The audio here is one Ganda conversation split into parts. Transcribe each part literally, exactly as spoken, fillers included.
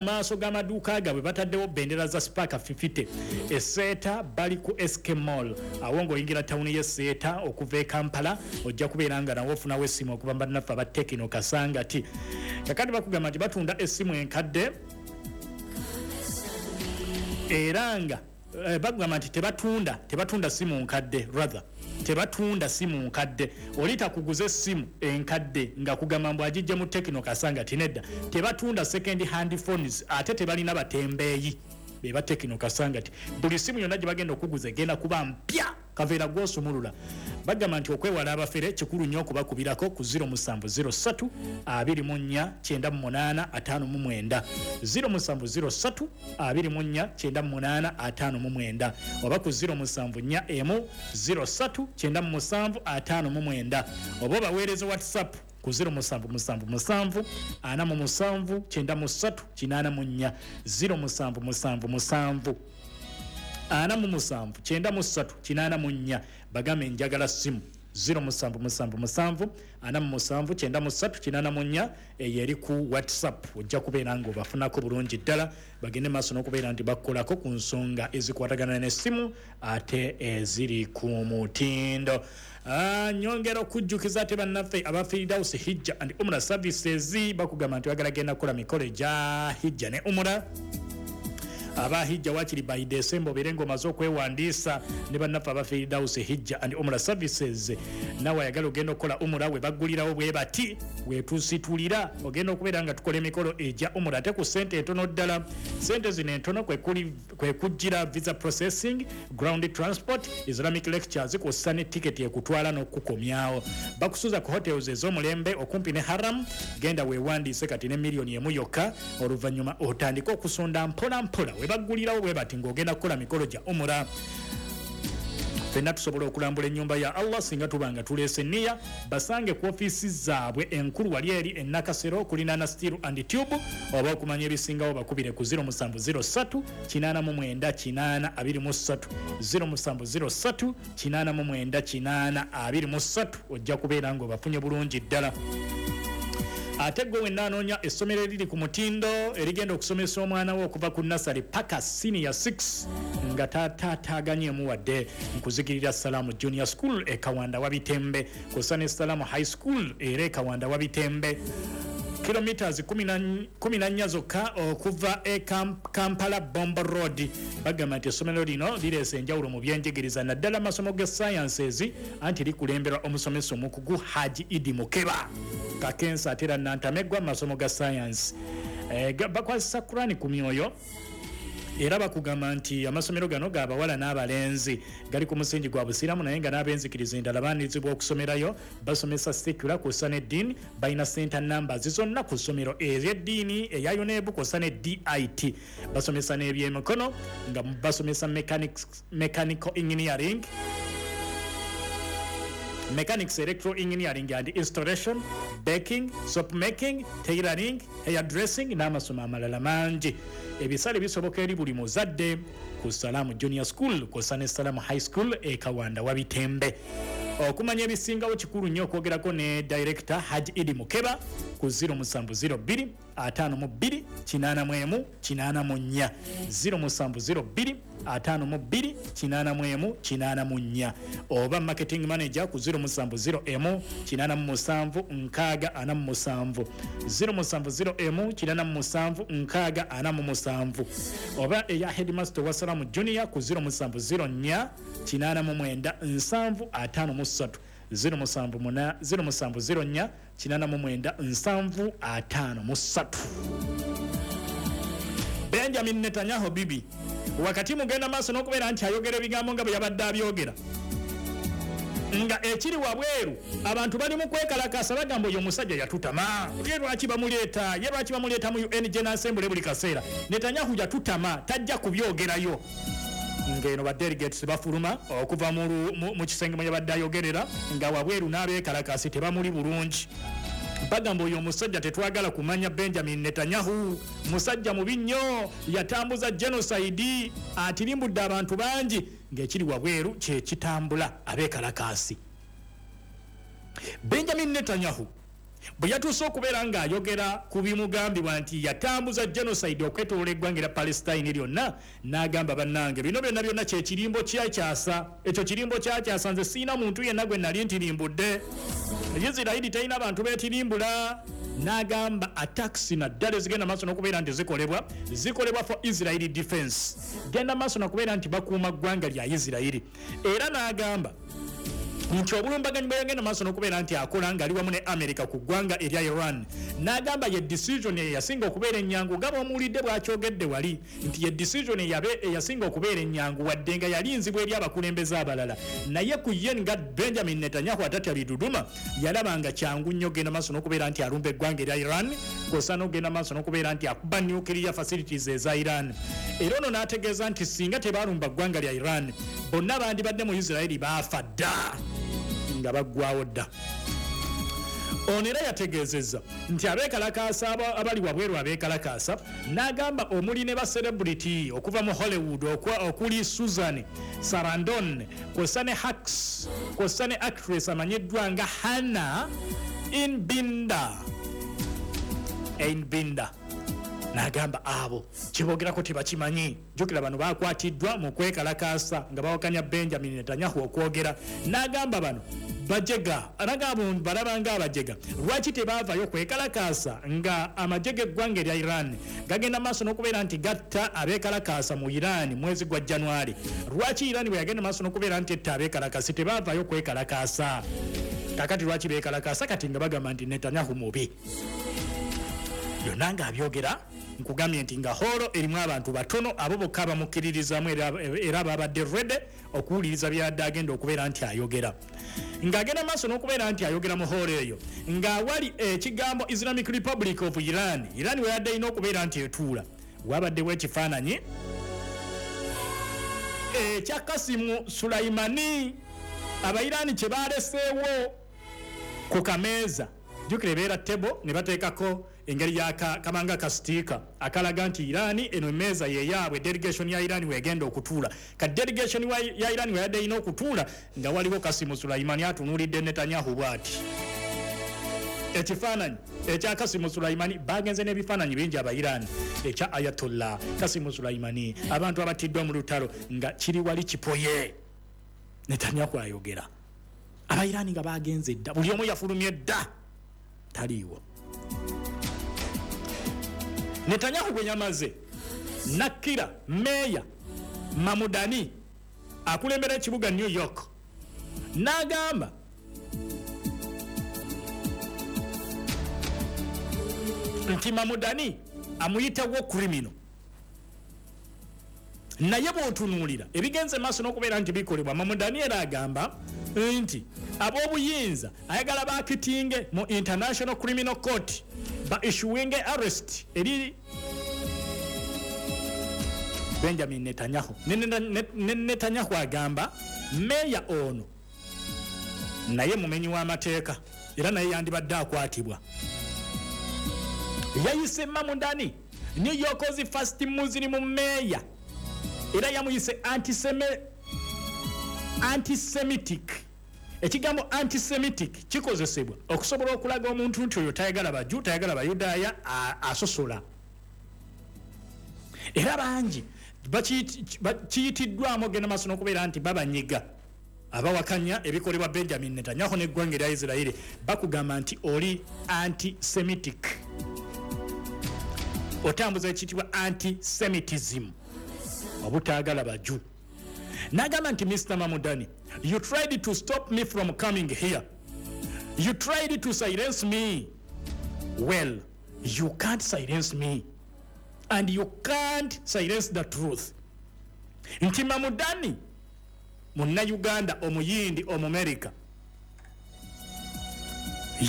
Maaso g'amaduuka gaabwe bataddewo bendera za Spark fifty. Eseeta bali ku S K Mall, awo ng'oyingira tawuni y'e Seeta okuva e Kampala, ojja kubeera nga nawe ofunawo essimu okuva mu bannaffe aba Tecno Kasangati. Kakati bakugamba nti batunda essimu enkadde, era nga eh, bagamba nti tebatunda tebatunda simu nkadde, rather tebatunda simu nkadde. Oli takuguza essimu enkadde nga kugamba mbu agijja mu Tecno Kasangati. Nedda, tebatunda second hand phones, ate tebalina batembeeyi beba Tecno Kasangati. Buli simu yonna gye bagenda okuguza egenda kuba mpya, kaveera gwosumulula. Bagamba nti okwewala abafere kikulu nnyo okubakubirako ku zero seven zero three twenty-four ninety-eight fifty-nine, zero seven zero three twenty-four ninety-eight fifty-nine, oba ku zero seven four one zero three ninety-seven fifty-nine, oba obaweereza WhatsApp ku zero seven seven seven forty-seven ninety-three eighty-four, zero seven seven seven forty-seven ninety-three eighty-four. Bagambe njagala simu, zero seven seven seven forty-seven ninety-three eighty-four. Eyo eri ku WhatsApp, ojja kubeera nga obafunako bulungi ddala. Bagende maaso n'okubeera nti bakukolako ku nsonga ezikwatagana n'essimu ate eziri ku mutindo. Ah, nyongera okujjukiza ate bannaffe aba Firdaus Hijja and Umra Services, bakugamba nti bagala genda kukola mikolo egya hijja ne umura. Aba hijja wakiri by December obeere ng'omaze okwewandiisa ne bannaffe aba Firdaus Hijja and Umra Services. Nawe ayagala ogenda okukola umura, we baggulirawo bwe bati wetusitulira, ogenda okubeera nga tukola emikolo egya umura ate ku ssente entono ddala. Ssente zino entono kwe kuli- kwe kujjira visa processing, ground transport, Islamic lectures, kw'ossa ne tiketi ekutwala n'okukomyawo. Bakusuza ku hotels ez'omulembe okumpi ne haram. Genda weewandiise kati ne miliyoni emu yokka, oluvannyuma otandike okusonda mpola mpola. We baggulirawo bwe bati ng'ogenda kukola mikolo gya umura. Ffenna tusobola okulambula ennyumba ya Allah singa tuba nga tuleese niya. Basange ku ofiisi zaabwe enkulu wali eri e Nakasero kulinaana Steel and Tube, oba okumanya ebisingawo bakubire ku zero seven zero three eighty-nine eighty twenty-three, zero seven zero three eighty-nine eighty twenty-three. Ojja kubeera ng'obafunye bulungi ddala. Ate gwe wenna anoonya essomero eriri ku mutindo erigenda okusomesa omwana we okuva ku nursery paka senior six nga tataataganyemu wadde, nkuzigirira Salaamu Junior School e Kawanda Wabitembe, kw'ossa ne Salaamu High School era e Kawanda Wabitembe, kilometers kumi na nnya zokka okuva e Kampala Bombo Road. Bagamba nti essomero lino lireesa enjawulo mu byenjigiriza, naddala amasomo ga sciences, anti likulemberwa omusomesa omukugu Haji Idi Mukeba Kakensa, ate era nantameggwa mu masomo ga science. Eh, bakwasisa Kurani ku myoyo. Era bakugamba nti amasomero gano gabawala n'abalenzi, gali ku musingi gwa busiraamu, naye nga n'abenzikiriza endala baanirizibwa okusomerayo. Basomesa secular kw'ossa n'eddiini. Balina center numbers zonna ku ssomero ery'eddiini eya UNEB kw'ossa ne D I T. Basomesa n'ebyemikono nga basomesa mechanics, mechanical engineering, mechanics, electro engineering and installation, baking, soap making, tailoring, hair dressing n'amasomo amalala mangi. Ebisale bisoboka eri buli muzadde ku Salaamu Junior School kw'ossa ne Salaamu High School e Kawanda Wabitembe. Okumanya ebisingawo kikulu nnyo okwogerako ne director Haji Idi Mukeba ku zero seven zero two fifty-two eighty-one eighty-four, zero seven zero two fifty-two eighty-one eighty-four, oba marketing manager ku zero seven zero one eighty-seven sixty forty-seven, zero seven zero one eighty-seven sixty forty-seven, oba eya headmaster wa Salamu Junior ku zero seven zero four eighty-nine seventy fifty-three, zero seven zero four eighty-nine seventy fifty-three. Benjamin Netanyahu bibi wakati mugenda maaso n'okubeera nti ayogera ebigambo nga bwe yabadde abyogera, nga ekiri wabweru abantu bali mu kwekalakasa, bagamba oyo omusajja yatutama, ye lwaki bamuleeta, ye lwaki bamuleeta mu U N General Assembly buli kaseera? Netanyahu yatutama, tajja kubyogerayo. Ng'eno ba delegates bafuluma okuva mu, mu, mu kisenge mwe yabadde ayogerera, nga wabweru n'abeekalakasi tebamuli bulungi, bagamba oyo omusajja tetwagala kumanya. Benjamin Netanyahu musajja mubi nnyo, yatambuza genocide, atirimbudde abantu bangi. Ng'ekiri wabweru kyekitambula, abeekalakaasi. Benjamin Netanyahu Bwe yatuuse okubeera ng'ayogera ku bimugambibwa nti yatambuza genocide okwetoloola eggwanga erya Palestine lyonna, n'agamba, "Bannange, bino byonna byonna kyekirimbo kyakyasa, ekyo kirimbo kyakyasa. Nze siina muntu yenna gwe nali ntirimbudde. Isirairi terina bantu beetirimbula." N'agamba attacks naddala ezigenda maaso n'okubeera nti zikolebwa, zikolebwa for Israeli defense, genda maaso nakubeera nti bakuuma ggwanga lya Isirairi. Era n'agamba nti obulumbaganyi bwe yagenda maaso n'okubeera nti akola ng'ali wamu ne America ku ggwanga erya Iran, n'agamba ye decision eyasinga okubeera ennyangu, nga bw'omuwulidde bw'akyogedde wali, nti ye decision eyabe eyasinga okubeera ennyangu, wadde nga yali nzibu eri abakulembeze abalala, naye ku ye nga Benjamin Netanyahu atatya biduduma, yalaba nga kyangu nnyo genda maaso n'okubeera nti alumba eggwanga erya Iran, kw'ossa n'okugenda maaso n'okubeera nti akuba nuclear facilities eza Iran. Era ono n'ategeeza nti singa tebalumba ggwanga lya Iran, bonna bandibadde mu Isiraeri baafa dda, nga baggwawo dda. Ono era yategeezezza nti abeekalakaasa abali wabweru abeekalakaasa, n'agamba omuli ne ba celebrity okuva mu Hollywood okuli Susan Sarandon, kw'ossa ne Hacks, kw'ossa ne actress amanyiddwa nga Hannah Einbinder Einbinder N'agamba abo kyebogerako tebakimanyi. Jjukira bano bakwatiddwa mu kwekalakaasa nga bawakanya Benjamin Netanyahu okwogera. N'agamba bano bajega, n'agamba balaba nga abajega, lwaki tebaavayo kwekalakaasa nga amagye g'eggwanga erya Iran gagenda maaso n'okubeera nti gatta abeekalakaasa mu Iran mwezi gwa January? Lwaki Iran bwe yagenda maaso n'okubeera nti etta abeekalakaasi tebaavayo kwekalakaasa? Kakati lwaki beekalakaasa kati nga bagamba nti Netanyahu mubi? Byonna ng'abyogera, nkugambye nti nga hall erimu abantu batono, abo bokka bamukkiririzaamu era babadde ready okuwuliriza byadde agenda okubeera nti ayogera. Ng'agenda maaso n'okubeera nti ayogera mu hall eyo, ng'awali ekigambo Islamic Republic of Iran, Iran weyadde erina okubeera nti etuula, wabaddewo ekifaananyi ekya Kasimu Sulaimani, Abairani kye baleseewo ku kameeza. Jjukira ebeera table ne bateekako engeri ya kamanga ka sticker akalaga nti Iran eno emmeeza yeyaabwe, delegation ya Iran wegenda okutuula. Ka delegation ya Iran weyadde erina okutuula, nga waliwo Kasimu Sulaimani atunuulidde Netanyahu bw'ati. Ekifaananyi ekya Kasimu Sulaimani, bagenze n'ebifaananyi bingi Abairani, ekya Ayatollah Kasimu Sulaimani, abantu abatiddwa mu lutalo, nga kiri wali kipoye. Netanyahu ayogera, Abairani nga bagenze dda, buli omu yafulumye dda, taliiwo. Netanyahu bwe yamaze nakkira meeya Mamudani akulembera ekibuga New York, n'agamba nti Mamudani amuyitawo criminal. Naye bw'otunuulira ebigenze maaso n'okubeera nti bikolebwa, Mamudani era agamba nti ab'obuyinza ayagala bakitinge mu International Criminal Court, ba issuing arrest eri Benjamin Netanyahu. Ne Netanyahu agamba meeya ono naye mumenyi w'amateeka, era naye yandibadde akwatibwa. Yayise Mamudani New York's first Muslim mayor, era yamuyise antisemitic. Ekigambo antisemitic kikozesebwa okusobola okulaga omuntu nti oyo tayagala Baju, tayagala Bayudaaya, asosola. Era bangi bakiyitiddwamu ogenda maaso n'okubeera nti babanyiga abawakanya ebikolebwa Benjamin Netanyahu n'eggwanga erya Isiraeri, bakugamba nti oli antisemitic, otambuza ekiyitibwa antisemitism, obutaagala Baju. N'agamba nti, "Mister Mamudani, you tried to stop me from coming here. You tried to silence me. Well, you can't silence me and you can't silence the truth." Nti Mamudani Munnayuganda Omuyindi Omumerika,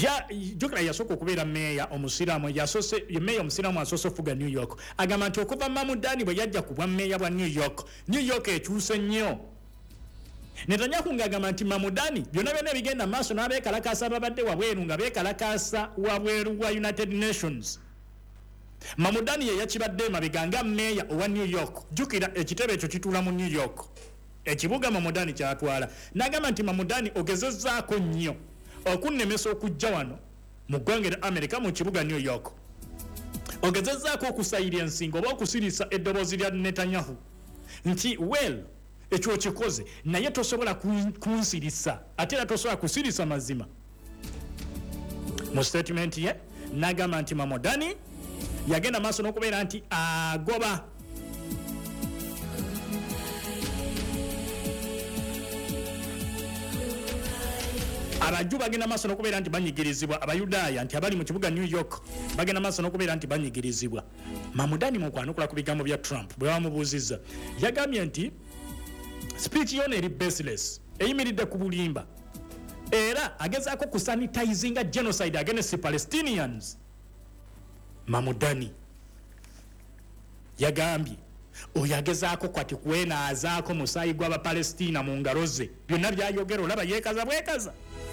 ya jjukira yasooka okubeera meeya omusiraamu, yasose meeya omusiraamu asoose ofuga New York. Agamba nti okuva Mamudani bwe yajja ku bwa meeya bwa New York, New York ekyuse nnyo. Netanyahu ng'agamba nti Mamudani byonna byonna ebigenda maaso n'abeekalakaasa babadde wabweru, nga beekalakaasa wabweru wa United Nations, Mamudani ye yakibadde emabega nga meeya owa New York. Jjukira ekitebe ekyo kituula mu New York, ekibuga Mamudani kyatwala. N'agamba nti, "Mamudani, ogezezzaako nnyo okunnemesa okujja wano Mu ggwanga erya America, mu kibuga New York, ogezezzaako okusayira ensingo oba okusirisa eddoboozi lya Netanyahu nti, "Well, ekyo okikoze, naye tosobola kunsirisa, ate era tosobola kusirisa mazima." Mu statement ye nagamba nti Mamdani yagenda maaso n'okubeera nti agoba Abaju bagenda maaso n'okubeera nti banyigirizibwa, Abayudaaya nti abali mu kibuga New York bagenda maaso n'okubeera nti banyigirizibwa. Mamdani mu kwanukula ku bigambo bya Trump, bwe bamubuuzizza, yagambye nti speech yona eri baseless, eyimiridde ku bulimba, era agezaako kusanitizinga genocide against Palestinians. Mamdani yagambye oyo agezaako kwati kwenaazaako musaayi gw'Abapalestina mu ngalo ze. Byonna byayogera olaba yeekaza bwekaza.